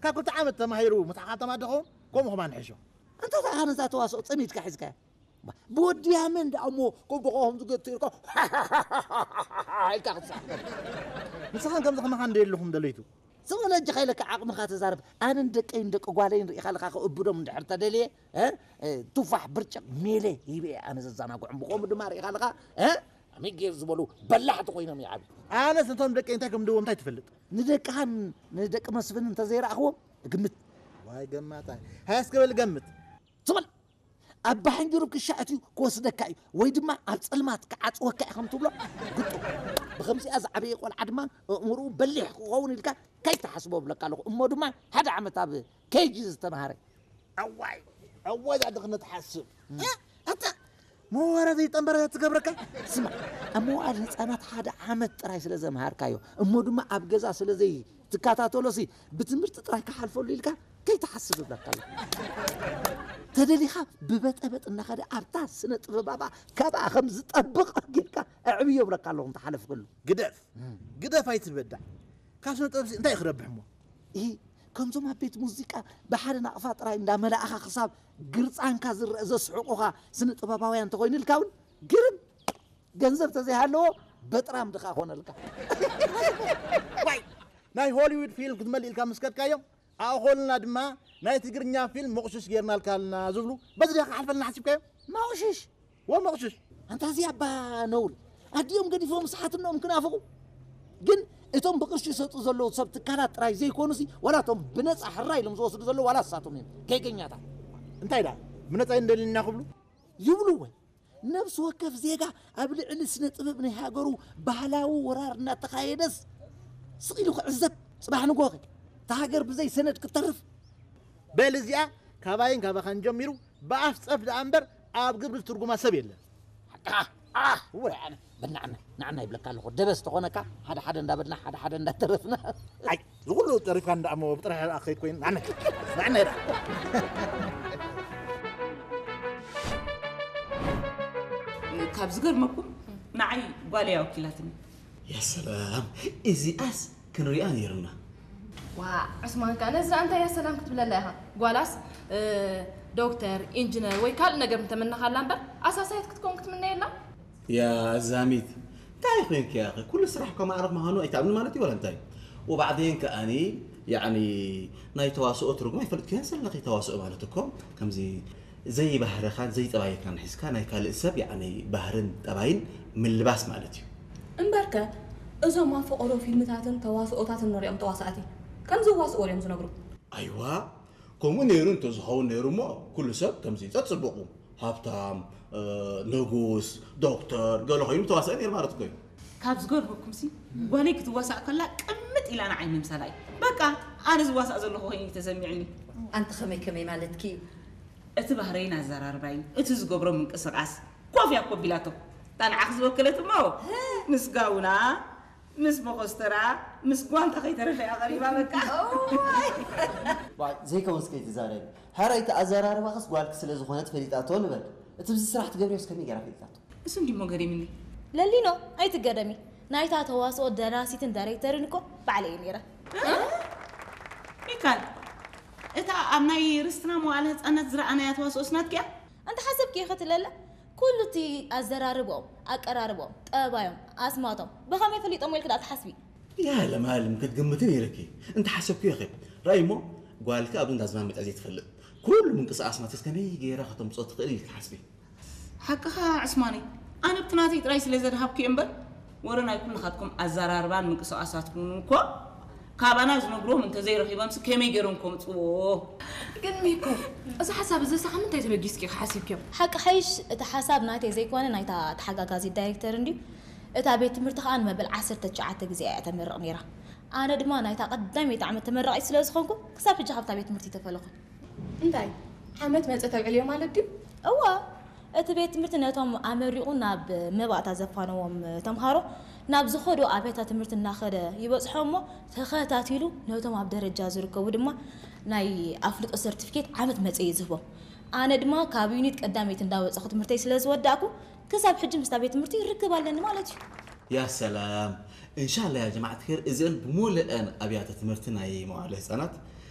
ካብ ክልተ ዓመት ተማሂሩ ምትሓኻተማ ደኸውን ከምኡ ከማን ሕሾ። ኣንታ እዛ ነዛ ተዋስኦ ጸሚድካ ሒዝካያ። ብወድያ መን ደኣ እሞ ከብድኻ ከም ዝገትር ኢልካ ኢልካ ክትስሕቅ። ንስኻን ከምዚ ከማኻ እንደ የለኹም ደለይቱ። ዝም በለ እጅኻ ኢለካ ዓቕምኻ ተዛረብ። ኣነን ደቀይን ደቂ ጓለይን ርኢኻ ኣለኻ ከእብዶም እንድሕር ተደልየ፣ እ? እ፣ ቱፋሕ ብርጭቕ ሜለ ሂበ ኣነ ዘዘናግዖም። ብኸምኡ ድማ ርኢኻ ኣለኻ፣ እ? ኣሜጌር ዝበሉ በላሕቲ ኮይኖም ይዓብዩ። ኣነስ ነቶም ደቀይ እንታይ ከም ድዎም እንታይ ትፈልጥ? ንደቅኻን ንደቂ መስፍን እንተዘይረኣኽዎም እግምት። ዋይ ገማታ። ሃያ እስከ በል ገምት። ትበል። ኣብ ባሕንጅሩብ ክሻ ኣትዩ ክወስደካ እዩ፣ ወይ ድማ ኣብ ጸልማት ክዓጽወካ እዩ ከም ትብሎ ግጡ። ብኸምዚኣ ዝዓበየ ቆልዓ ድማ ኣእምርኡ በሊሕ ክኸውን ኢልካ ከይትሓስቦ እብለካ ኣለኹ። እሞ ድማ ሓደ ዓመት ኣብ ኬጂ ዝተምሃረ። ኣዋይ፣ ኣዋይ፣ እዛ ድኽነት ሓስብ። እ? ኣታ፣ መዋረ ዘይጠንበረ ትገብረካ? ስማ፣ ኣብ መዋዕለ ህጻናት ሓደ ዓመት ጥራይ ስለ ዘምሃርካዮ፣ እሞ ድማ ኣብ ገዛ ስለ ዘይትከታተሎሲ፣ ብትምህርቲ ጥራይ ክሓልፈሉ ኢልካ ከይትሓስብ እብለካ ኣለኹ። ተደሊኻ ብበጠበጥ እናኸደ ኣብታ ስነ ጥበባባ ካብኣ ከም ዝጠብቕ ጌርካ ኣዕብዮ እብለካ ኣለኹ እንተሓለፍክሉ። ግደፍ፣ ግደፍ ኣይትበዳዕ። ካብ ስነ ጥበብሲ እንታይ እዩ ክረብሕ እሞ? ኢ፣ ከምዞም ኣብ ቤት ሙዚቃ ብሓደ ናቕፋ ጥራይ እንዳመላእኻ ክሳብ ግርጻንካ ዝረአ ዘስሕቑኻ ስነ ጥበባውያን እንተኾይኑልካ እውን ግርም፣ ገንዘብ ተዘይሃለዎ በጥራም ድኻ ኮነልካ። ዋይ፣ ናይ ሆሊውድ ፊልም ክትመልእ ኢልካ ምስ ከድካዮም፣ ኣኾልና ድማ ናይ ትግርኛ ፊልም መቑሽሽ ጌርናልካ ኣለና ዝብሉ፣ በዚ ዲኻ ክሓልፈልና ሓሲብካዮ? መቑሽሽ? ወ መቑሽሽ። ኣንታ እዚ ኣባ ነውሪ። ኣዲኦም ገዲፎም ስሓትነኦም ክናፍቑ። ግን እቶም ብቕርሺ ይሰጡ ዘለዉ ሰብ ትካላት ጥራይ ዘይኮኑሲ፣ ዋላ እቶም ብነጻ ሕራይ ኢሎም ዝወስዱ ዘለዉ ዋላ ንሳቶም እዮም። ጌገኛታት። እንታይ ደኣ? ብነጻ እዩ እንደልዩና ክብሉ? ይብሉ ወይ? ነፍሲ ወከፍ ዜጋ ኣብ ልዕሊ ስነ ጥበብ ናይ ሃገሩ ባህላዊ ወራር እናተኻየደስ ስቕ ኢሉ ክዕዘብ፣ ጽባሕ ንግሆ ከ እታ ሃገር ብዘይ ሰነድ ክትተርፍ? በል እዚኣ ካባይን ካባኻን ጀሚሩ ብኣፍ ጸፍ ደኣ እምበር ኣብ ግብሪ ዝትርጉማ ሰብ የለን። ሓቅኻ። ኣህ፣ እወ። ኣነ በናዕና፣ ናዕና ይብለካ ኣለኹ። ደበስ ተኾነካ፣ ሓደ ሓደ እንዳበልና፣ ሓደ ሓደ እንዳተረፍና። ኣይ፣ ዝኹሉ ጠሪፍካ እንዳ እሞ ብጥራሕ ኣኸይድ ኮይኑ፣ ናዕና፣ ናዕና ይዳ። ካብ ዝገርመኩም፣ ንዓይ ጓለይ ኣወኪላትኒ። ያ ሰላም፣ እዚኣስ ክንሪኣ ነይሩና። ዋ፣ ዑስማን ከኣ ነዚ እንታይ እያ ሰላም ክትብለላ ኢኻ? ጓላስ፣ እ፣ ዶክተር፣ ኢንጂነር ወይ ካልእ ነገር ምተመነኻላ እምበር፣ ኣሳሳይት ክትከውን ክትምነየላ? ያ ዛሚት፣ እንታይ ኮይንኪ ያኺ? ኩሉ ስራሕ እኮ ማዕረግ ምዃኑ ኣይትኣምኒ ማለት እዩ፣ ወላ እንታይ? ወባዕዴን ከኣኒ፣ ያዕኒ፣ ናይ ተዋስኦ ትርጉም ኣይፈልጥክዮን ዘለኺ። ተዋስኦ ማለት እኮ ከምዚ ዘይባህርኻን ዘይጠባይካን ሒዝካ ናይ ካልእ ሰብ፣ ያዕኒ፣ ባህርን ጠባይን ምልባስ ማለት እዩ። እምበርከ፣ እዞም ኣብ ፈቐዶ ፊልምታትን ተዋስኦታትን ንሪኦም ተዋሳእቲ፣ ከም ዝዋስኡ እዮም ዝነግሩ። ኣይዋ፣ ከምኡ ነይሩ እንተዝኸውን ነይሩ እሞ፣ ኩሉ ሰብ ከምዚ ጸጽቡቑ፣ ሃብታም፣ እ፣ ንጉስ፣ ዶክተር፣ ገለ ኮይኑ ተዋሳኢ ነይሩ ማለት እኮ እዩ። ካብ ዝገርመኩምሲ፣ ጓለይ ክትዋሳእ ከላ ቅምጥ ኢላ ንዓይ ምምሳላ እዩ። በቃ፣ ኣነ ዝዋሳእ ዘለኹ ኮይኑ እዩ ተሰሚዕኒ። ኣንቲ ከመይ ከመይ ማለትኪ? እቲ ባህረይን ኣዘራርባይን፣ እቲ ዝገብሮ ምንቅስቓስ፣ ኮፍ እያ ኮቢላቶ። እታ ንዓኺ ዝወከለት እሞ፣ ምስ ጋውና፣ ምስ መኾስተራ፣ ምስ ጓንታ ከይተረፈ እያ ቀሪባ በቃ። እዋይ! ዋይ፣ ዘይከውንስ ከይትዛረቢ። ሕራይ እቲ ኣዘራርባኽስ ጓልኪ ስለ ዝኾነት ፈሊጣቶ ንበል። እቲ ብዚ ስራሕ ትገብርዮስ ከመይ ገይራ ፈሊጣቶ? እሱ እንዲሞ ገሪምኒ። ለሊኖ፣ ኣይትገረሚ። ናይታ ተዋስኦ ደራሲትን ዳይሬክተርን እኮ ባዕለይ እየ ነይረ። ሚካል፣ እታ ኣብ ናይ ርስትና መዋዕለ ህጻናት ዝረኣናያ ተዋስኦስ ናትኪ እያ? እንተ ሓሰብኪ ኢኺ ትለለ፣ ኩሉ እቲ ኣዘራርብኦም፣ ኣቀራርብኦም፣ ጠባዮም፣ ኣስማቶም፣ ብኸመይ ፈሊጦሞ ኢልኪ ደኣ ትሓስቢ? ያ ለማለም፣ ክትግምቲ ነይርኪ። እንተ ሓሰብክዮ ኢኺ። ራእይ እሞ፣ ጓልኪ ኣብዚ እንዳ ዝማን መጺኣ ዘይትፈልጥ። ኩሉ ምንቅስቓስ ናትስ ከመይ ገይራ ከተምጽኦ ትኽእል ኢልኪ ሓስቢ። ሓቅኻ ዕስማነይ፣ ኣነ ብቲ ናተይ ጥራይ ስለ ዘድሃብኩ እየ እምበር፣ ወረ ናይ ኩልኻትኩም ኣዘራርባን ምንቅስቓሳትኩምን እኮ ካባና ዝነግርዎም እንተዘይረኺቦምሲ ከመይ ገይሮም ከምጽዎ? ግን ሚኮ፣ እዚ ሓሳብ እዚ ሳብ ምንታይ ተበጊስኪ ኢኺ ሓሲብክዮ? ሓቂ ሓይሽ፣ እቲ ሓሳብ ናተይ ዘይኮነ ናይታ ተሓጋጋዚት ዳይሬክተር እንድዩ። እታ ቤት ትምህርቲ ከኣ ንመበል ዓሰርተ ትሽዓተ ግዜ እያ ተመርቕ ነይራ። ኣነ ድማ ናይታ ቀዳመይቲ ዓመት ተመራቒት ስለ ዝኾንኩ፣ ክሳብ ሕጂ ካብታ ቤት ትምህርቲ ተፈለኹ። እንታይ? ዓመት መጸ ተብዕልዮ ማለት ድዩ? እወ፣ እቲ ቤት ትምህርቲ ነቶም ኣመሪቑ ናብ መባእታ ዘፋነዎም ተምሃሮ ናብ ዝኸዱ ኣብያተ ትምህርቲ እናኸደ ይበጽሖም እሞ፣ ተኸታቲሉ ነቶም ኣብ ደረጃ ዝርከቡ ድማ ናይ ኣፍልጦ ሰርቲፊኬት ዓመት መጸ እዩ ዝህቦም። ኣነ ድማ ካብ ዩኒት ቀዳመይቲ እንዳወጻኹ ትምህርተይ ስለ ዝወዳእኩ፣ ክሳብ ሕጂ ምስታ ቤት ትምህርቲ ርክብ ኣለኒ ማለት እዩ። ያ ሰላም። እንሻላ ያ ጀማዓት ኸይር፣ እዚአን ብሙሉአን ኣብያተ ትምህርቲ ናይ መዋዕለ ህጻናት